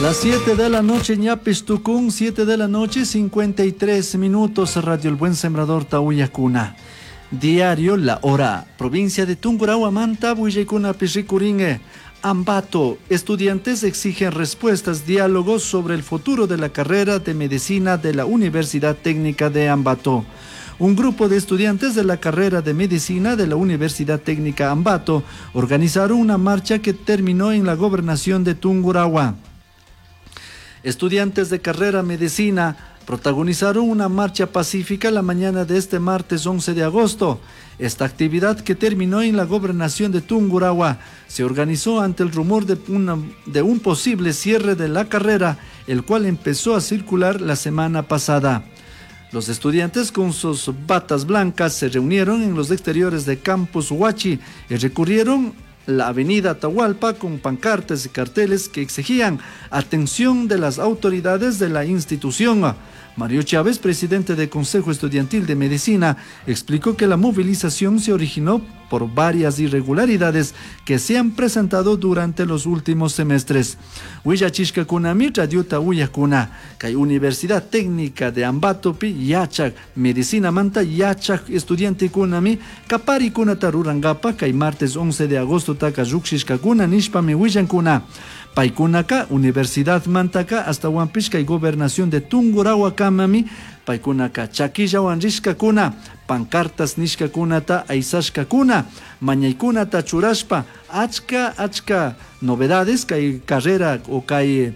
Las 7 de la noche, ñapis tucún, 7 de la noche, 53 minutos, Radio El Buen Sembrador, Tauyacuna. Diario La Hora, provincia de Tungurahua, Manta, Buillecuna, Pisricuringue. Ambato, estudiantes exigen respuestas, diálogos sobre el futuro de la carrera de medicina de la Universidad Técnica de Ambato. Un grupo de estudiantes de la carrera de medicina de la Universidad Técnica Ambato organizaron una marcha que terminó en la gobernación de Tungurahua. Estudiantes de carrera medicina protagonizaron una marcha pacífica la mañana de este martes 11 de agosto. Esta actividad, que terminó en la gobernación de Tungurahua, se organizó ante el rumor de un posible cierre de la carrera, el cual empezó a circular la semana pasada. Los estudiantes con sus batas blancas se reunieron en los exteriores de Campus Huachi y recurrieron la avenida Atahualpa con pancartas y carteles que exigían atención de las autoridades de la institución. Mario Chávez, presidente del Consejo Estudiantil de Medicina, explicó que la movilización se originó por varias irregularidades que se han presentado durante los últimos semestres. Huillachishkakunami radiota uyakuna, kay Universidad Técnica de Ambatopi yachak, medicina manta yachak estudiantekunami, kaparikunata rurankapa kay martes 11 de agosto taka llukshishkakuna nishpami willankuna. Paykunaka Universidad mantaka hasta kay gobernación de Tungurahua kamami paykunaka chakillawan rishkakuna, pancartas nishkakunata aysashkakuna, mañaykunata churashpa, achka achka novedades kay carrera o kay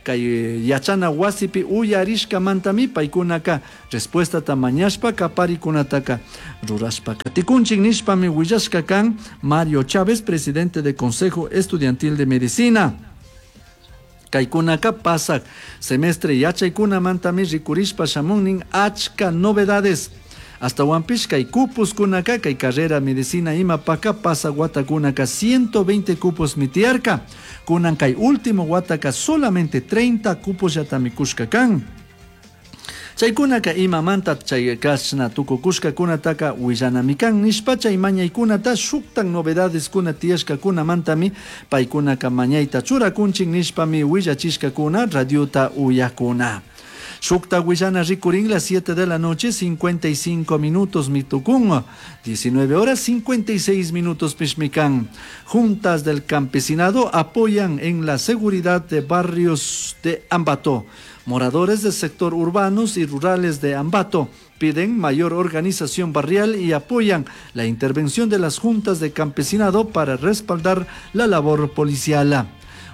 kay yachana wasipi uyarishkamantami paykunaka respuestata mañashpa kaparikunataka rurashpa katikunchik nishpami willashka kan Mario Chávez, presidente del Consejo Estudiantil de Medicina. Kaykunaka pasak semestre yachaykunamantami rikurishpa shamunnin achka novedades. Hasta Huampish kay cupos kunaka kay carrera medicina imapaka pasak watakunaka 120 cupos mitiarka. Kunan kay último wataka solamente 30 cupos yatami kushka kan. Chaykunaka imamanta chay kashna tukukushkakunataka willanami kan nishpa chay mañaykunata shuktan novedades kuna tiyashkakunamantami paykunaka mañayta churakunchik nishpami willachishkakuna radiota uyakuna. Shukta willana rikurin las 7 de la noche, 55 minutos mitukun, 19 horas 56 minutos pishmikan. Juntas del campesinado apoyan en la seguridad de barrios de Ambato. Moradores del sector urbanos y rurales de Ambato piden mayor organización barrial y apoyan la intervención de las juntas de campesinado para respaldar la labor policial.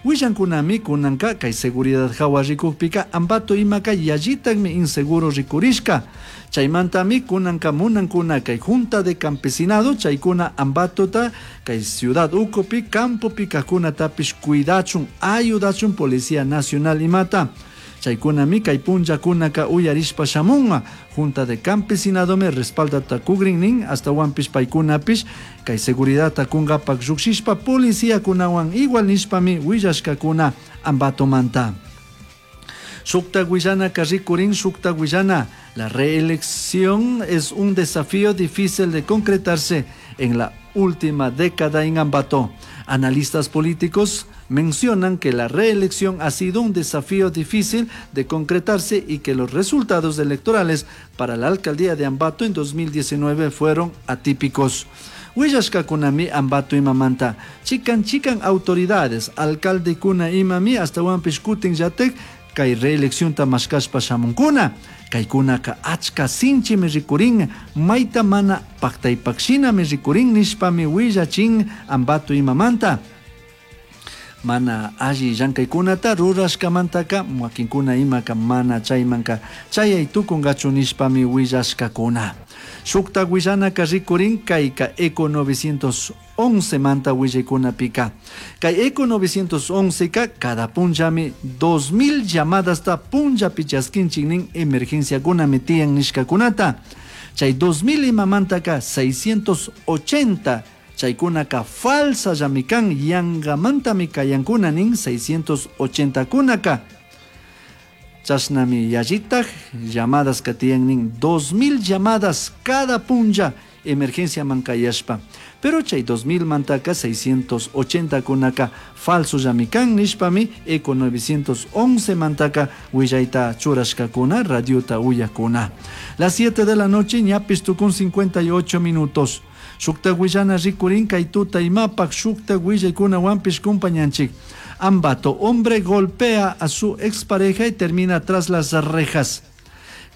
Willankunami kunanka kay seguridad hawa rikukpika Ambato imaka yallitakmi inseguro rikurishka. Chaymantami kunanka munankuna kay junta de campesinado chaykuna Ambatota kay ciudad ukupi campopi kajkunatapish cuidachun ayudachun Policía Nacional imata. Chaykunami kay punllakunaka uyarishpa shamunga. Junta de campesinado me respalda takugrin nin hasta wampish paykunapish kay seguridad takungapak llukshishpa policía kunawan igual nishpami willashkakuna Ambatomanta. Shukta willana karrikurin shukta willana. La reelección es un desafío difícil de concretarse en la última década en Ambato. Analistas políticos mencionan que la reelección ha sido un desafío difícil de concretarse y que los resultados electorales para la alcaldía de Ambato en 2019 fueron atípicos. Willashkakunami Ambato imamanta. Chikan chikan autoridades, alcalde kuna imami hasta wampish kutin yatek kay reelección ta mashkashpa shamunkuna. Kaykunaka achka sinchimi rikurin, mayta mana paktaypakshinami rikurin nishpami willachin Ambato imamanta. Mana alli llankaykunata rurashkamantaka wakinkuna imaka mana chaymanka chayay tukunkachu nishpami willashkakuna. Shukta willanaka rikurin kayka Eco 911 manta willaykunapika. Kay Eco 911 ka cada punllami 2000 llamadas ta punllapi chaskinchik nin emergenciakunami tiyan nishkakunata. Chay 2000 imamantaka 680 chaykunaka falsa llamikan yangamantami kayankuna nin 680 kunaka. Chashnami yallitaj llamadas katiyan nin 2000 llamadas cada punlla emergenciaman kayashpa. Pero chay 2000 mantaka 680 kunaka falsollami kan nishpami Eco 911 mantaka willayta churashkakuna radiota uyakuna. Las 7 de la noche ñapish tukun 58 minutos. Shukta willana rikurin kay tuta imapak shukta willaykunawanpish kumpañanchik. Ambato, hombre golpea a su expareja y termina tras las rejas.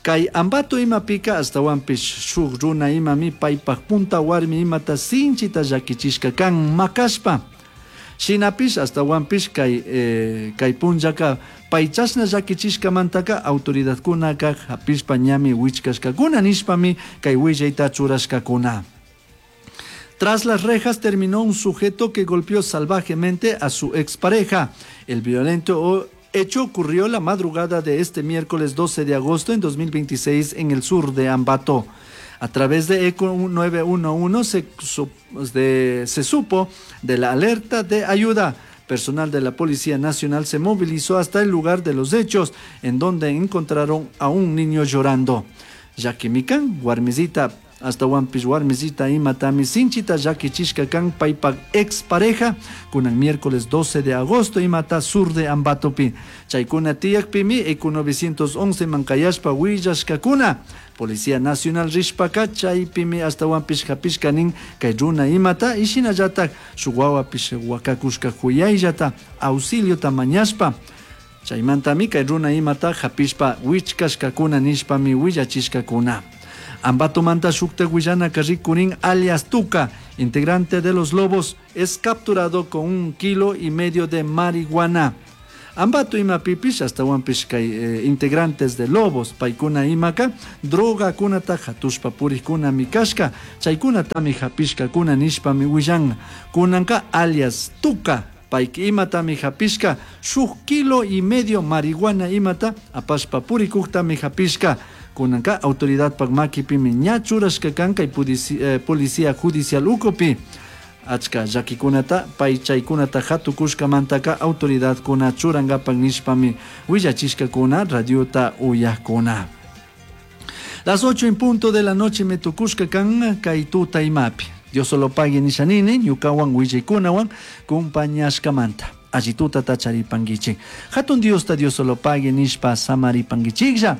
Kay Ambato imapika astawanpish shuk runa imami paypak punta warmi imata sinchita llakichishka kan makashpa. Shinapish astawanpish kay punllaka pay chashna llakichishkamantaka autoridadkunaka hapishpa ñami wichkashkakuna nishpami kay willayta churashkakuna. Tras las rejas terminó un sujeto que golpeó salvajemente a su expareja. El violento hecho ocurrió la madrugada de este miércoles 12 de agosto en 2026 en el sur de Ambato. A través de Eco 911 se supo de la alerta de ayuda. Personal de la Policía Nacional se movilizó hasta el lugar de los hechos, en donde encontraron a un niño llorando. Llaquimican, warmisita, hasta warmisita imatami sinchita llakichishka kan paypak expareja kunan miércoles 12 de agosto imata sur de Ambatopi. Chaykuna tiyakpimi Eco 911 mankayashpa willashkakuna. Policía Nacional rishpaka chaypimi astawanpish hapishka nin kay runa imata y shinallatak shuk wawapish wakakushka huyayllata auxiliota mañashpa. Chaymantami kay runa imata hapishpa wichkashkakuna nishpami willachishkakuna. Ambato manta shukta willana rikurin alias Tuca, integrante de los Lobos, es capturado con 1,5 kilos de marihuana. Ambato imapipish astawanpish kay integrantes de Lobos, paykuna imaka, droga kunata hatushpa purikuna mikashka, chaykunatami hapishkakuna nishpami willan. Kunanka alias Tuca, payki imatami hapishka, shuk 1,5 kilo marihuana imata apashpa purikuktami hapishka. Kunanka autoridad pak makipimi ña churashka kan kay policía judicial ukopi. Achka llakikunata pay chaykunata hatukushkamantaka autoridadkuna churankapak nishpami willachishkakuna radiota uyakuna. Las 8 en punto de la noche me tukushka kan kay tuta imapi. Dios solo pague nishanini ñukawan willaykunawan kumpañashkamanta. Allituta tacharipanguichik. Hatun Diosta Dios solo pague nishpa samaripanguichiklla.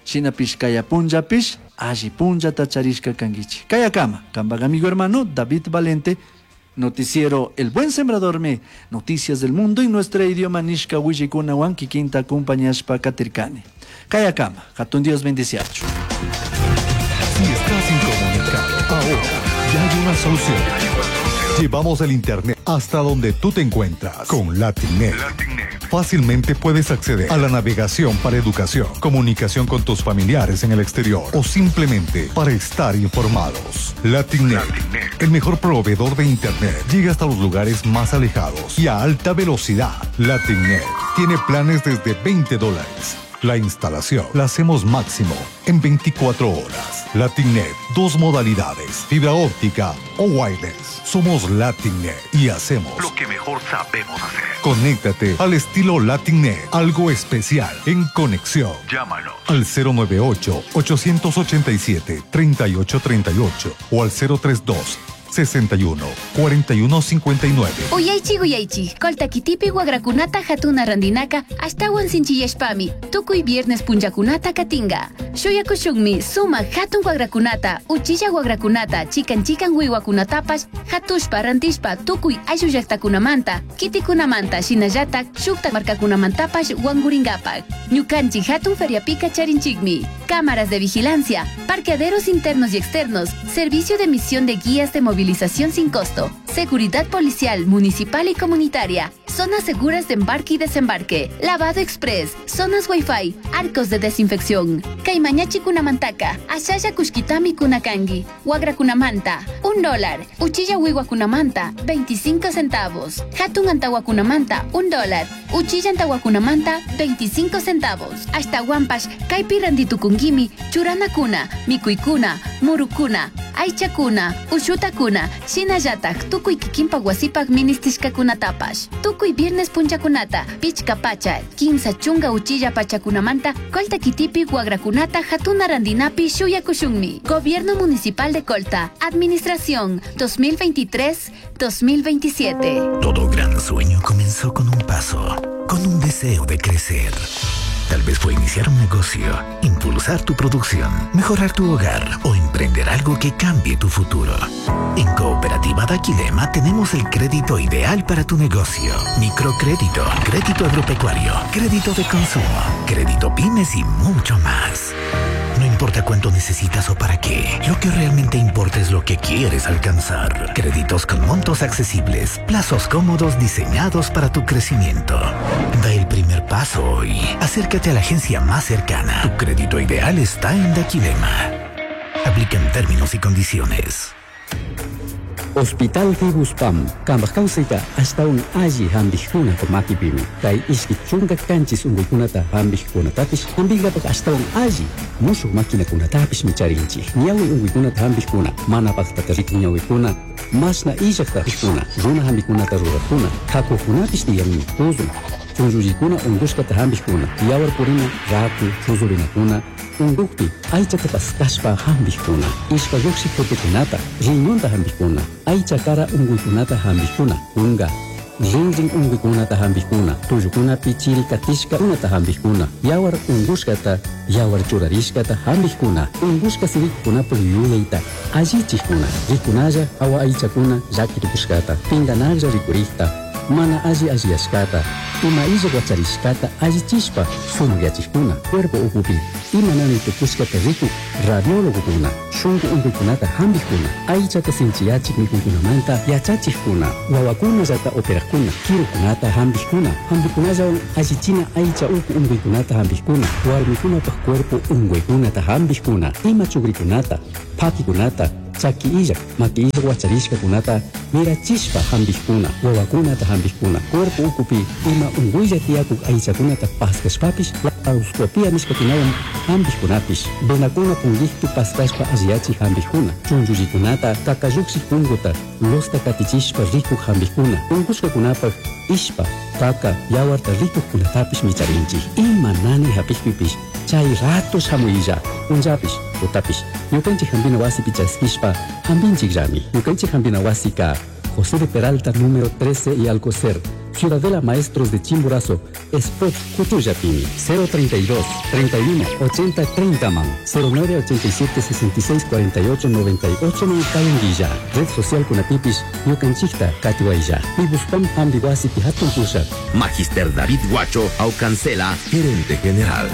Shinapish kaya punllapish alli punllata charishka kanguichik. Kayakama, kampak amigo hermano David Valente, noticiero El Buen Sembrador me, noticias del mundo en nuestro idioma nishka willaykunawan kikinta kumpañashpa katirkani. Kayakama, hatun Dios bendiciacho. Si estás incomunicado, ahora ya hay una solución. Llevamos el internet hasta donde tú te encuentras con LatinNet. Fácilmente puedes acceder a la navegación para educación, comunicación con tus familiares en el exterior o simplemente para estar informados. LatinNet, el mejor proveedor de internet, llega hasta los lugares más alejados y a alta velocidad. LatinNet tiene planes desde $20. La instalación la hacemos máximo en 24 horas. LatinNet, 2 modalidades, fibra óptica o wireless. Somos LatinNet y hacemos lo que mejor sabemos hacer. Conéctate al estilo LatinNet, algo especial en conexión. Llámanos al cero nueve ocho, ochocientos ochenta y siete, treinta y ocho treinta y ocho o al cero tres dos, sesenta y uno, cuarenta y uno, cincuenta y nueve. Uyaychi, uyaychi, koltakitipi wagrakunata hatuna randinaka ashtawan sinchiyashpami, tukuy viernes punllakunata katinga. Shuyakushunmi suma hatun wagrakunata, uchilla wagrakunata, chikan chikan wiwakunatapash, hatushpa rantishpa tukuy ayllu llaktakunamanta, kitikunamanta, shinallatak shukta markakunamantapash wanguringapak. Ñukanchik hatun feriapika charinchikmi. Cámaras de vigilancia, parqueaderos internos y externos, servicio de emisión de guías de movilización sin costo, seguridad policial, municipal y comunitaria, zonas seguras de embarque y desembarque, lavado express, zonas wifi, arcos de desinfección. Kaymañachi kunamantaka, ashalla kushkitami kunakangi, wagra kunamanta, un dólar, uchilla wiwa kunamanta, 25 centavos, hatun antawa kunamanta, un dólar. Uchilla antawakunamanta 25 centavos. Ashtawanpash kaypi rantitukunkimi churanakuna, mikuykuna, murukuna, aychakuna, ushutakuna, shinallatak tukuy kikinpak wasipak ministishkakunatapash. Tukuy viernes punchakunata, pichka pacha, 30 uchilla pachakunamanta, Colta kitipi wagrakunata hatuna randinapi shuyakushunmi. Gobierno Municipal de Colta, Administración 2023-2027. Todo gran sueño comenzó con un paso, con un deseo de crecer. Tal vez fue iniciar un negocio, impulsar tu producción, mejorar tu hogar o emprender algo que cambie tu futuro. En Cooperativa Daquilema tenemos el crédito ideal para tu negocio. Microcrédito, crédito agropecuario, crédito de consumo, crédito pymes y mucho más. No importa cuánto necesitas o para qué, lo que realmente importa es lo que quieres alcanzar. Créditos con montos accesibles, plazos cómodos diseñados para tu crecimiento. Da el primer paso hoy. Acércate a la agencia más cercana. Tu crédito ideal está en Daquilema. Aplican términos y condiciones. Hospital Fibuspam, kambaj kawsayta ashtawan alli hampikkunapa makipimi. Kay 27 unkuykunata hampikkunatapish hampinkapak ashtawan alli mushuk maquinakunatapishmi charinchik. Ñawi unkuykunata hampikkuna, mana paktata rikun ñawikuna, mashna illakta hampikuna, runa hampikunata rurakkuna, kakukunapish tiyanmi, tuzun, chunllullikuna unkushkata hampikkuna, yawar purina, raku, chuzurinakuna, unkukpi aychata paskashpa hampikkuna, ishpa lluqshik putukunata, riñonta hampikkuna, aycha kara unkuykunata hampikkuna, kunka, rinrin unkuykunata hampikkuna, tullukunapi chiri katishkakunata hampikkuna, yawar unkushkata, yawar churarishkata hampikkuna, unkushka sirikunapak yuyayta allichikkuna, rikunalla awa aychakuna llakitukushkata, pinkanaklla rikurikta, mana alli alliyashkata, ima illa wacharishkata allichishpa sumakyachikuna, cuerpo ukupi ima nanay tukushkata rikuk radiólogokuna, shunku unkuykunata hampikkuna, aychata sinchiyachik mikuykunamanta yachachikkuna, wawakunallata operakkuna, kirukunata hampikkuna, hampikunallawan allichina aycha uku unkuykunata hampikkuna, warmikunapak cuerpo unkuykunata hampikkuna, ima chukrikunata, pakikunata, chaki illak, maki illak wacharishkakunata mirachishpa hampikkuna, wawakunata hampikkuna, cuerpo ukupi ima unkuylla tiyakuk aychakunata paskashpapish laparoscopia nishkakunawan hampikkunapish, venakuna punkikpi paskashpa alliyachik hampikkuna, chunchullikunata kakallukshik punkuta losta katichishpa rikuk hampikkuna, unkushkakunapak ishpa, kaka, yawarta rikukkunatapish micharinchik. Ima nanay hapikpipish chay rato shamuylla, punllapish, tutapish, ñukanchik hampina wasipi chaskishpa hampinchikllami. Ñukanchik hampina wasika José de Peralta, número 13 y Alcocer, Ciudadela Maestros de Chimborazo, Spot Cuchuyapimi, 032 31 80 30 man, 09 87 66 48 98 man Cayanguilla, Red Social Kunapipis, Ñukanchikta Katiwaylla, Pibuspam Hambiwasi Pihatun Pusha. Magister David Guacho Aucancela, gerente general.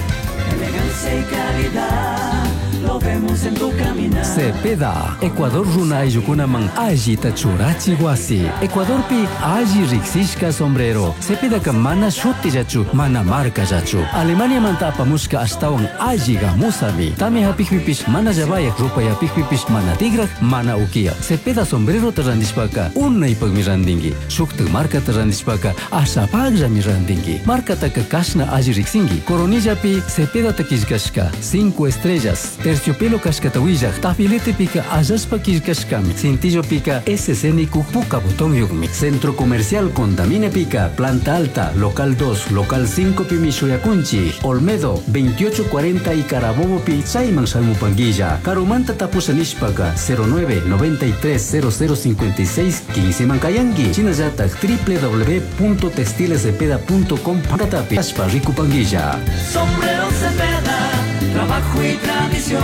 Elegancia y calidad, lo vemos en tu caminar. Cepeda, Ecuador runa ayllukunaman allita churachi wasi. Ecuadorpi alli riksishka sombrero. Cepedaka mana shutillachu, mana markallachu. Alemaniamanta apamushka ashtawan alli gamusami. Tami hapikpipish mana llavayak, rupayapikpipish mana tigrak, mana ukiya. Cepeda sombrerota randishpaka unaypakmi randinki. Shuktak markata randishpaka ashapakllami randinki. Markataka kashna alli riksinki. Coronillapi Cepedata killkashka 5 estrellas. Terciopelo kashkata willak, tafiletepika allashpa killkashkami. Cintillopika SC puka botón yukmi. Centro Comercial Contamine Pica, Planta Alta, Local 2, Local 5 pimi shuyakunchi. Olmedo 2840 y Carabobo pi chayman shalmupanguilla. Karumanta tapusha nishpaka 09 93 00 56 15 mankayangi. Chinallatak www.textilescepeda.com patapi ashpa rikupanguilla. Sombrero Cepeda, trabajo y tradición.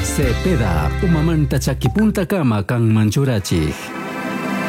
Cepeda, umamanta chakipunta kama kan manchurachik.